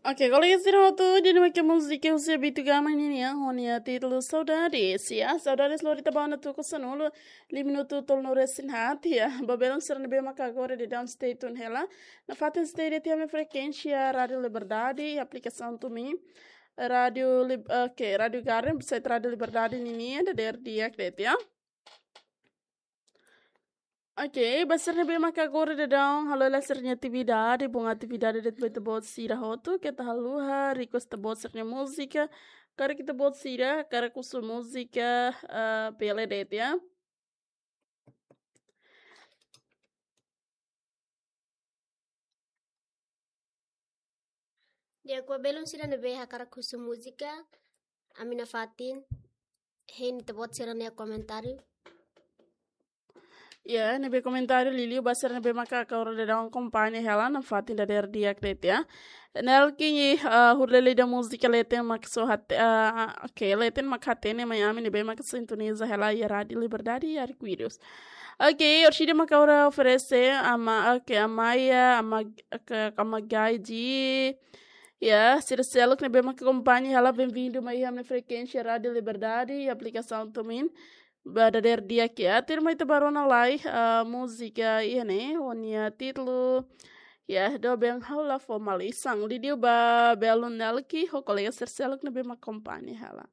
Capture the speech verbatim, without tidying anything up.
Oke, kolega sira hotu, ida-ne'e mak múzika husi Bitu Gama nian, ho nia títulu Saudades, ya. Saudades lori ita ba ona tuku sanulu, lima minutu tolunulu-resin-haat, ya. Ba belun sira ne'ebé maka agora daudaun stay tune hela. Nafatin stay de'it iha ami-nia frekuénsia Rádiu Liberdade, aplikasaun TuneIn, Rádiu Lib-, oke, Rádiu Garden, site Rádiu Liberdade nian, dadeer di'ak de'it, ya. Oke, ba sira ne'ebé maka agora daudaun halo hela sira-nia atividade, bom atividade de'it ba ita-boot sira hotu, keta haluha request ita-boot sira-nia múzika, karik ita-boot sira hakarak husu múzika, ah, bele de'it, ya. Di'ak, ba belun sira ne'ebé hakarak husu múzika, ami nafatin hein ita-boot sira-nia komentáriu. Ya, ne'ebé komentáriu liuliu ba sira ne'ebé maka agora daudaun akompaña hela, nafatin dadeer di'ak de'it, ya. Nelkin, ah, hodi lee ida múzika leten mak só hate-, ah, oke, leten mak hatene mai ami ne'ebé maka sintoniza hela iha Rádiu Liberdade iha Arco-Íris. Oke, orsida maka agora oferese Ama, oke, Amaya, Ama, ke, Ama Gaiji. Ya, sira seluk ne'ebé maka akompaña hela, bem-vindo mai iha ami-nia frekuénsia Rádiu Liberdade, aplikasaun TuneIn. Ba dadeer di'ak, ya, tuirmai ita bá rona lai, ah, múzika iha ne'e, ho nia títulu, ya, Doben Ha'u La Fó Malisan. Liuliu ba belun Nelkin, ho kolega sira seluk ne'ebé maka akompaña hela.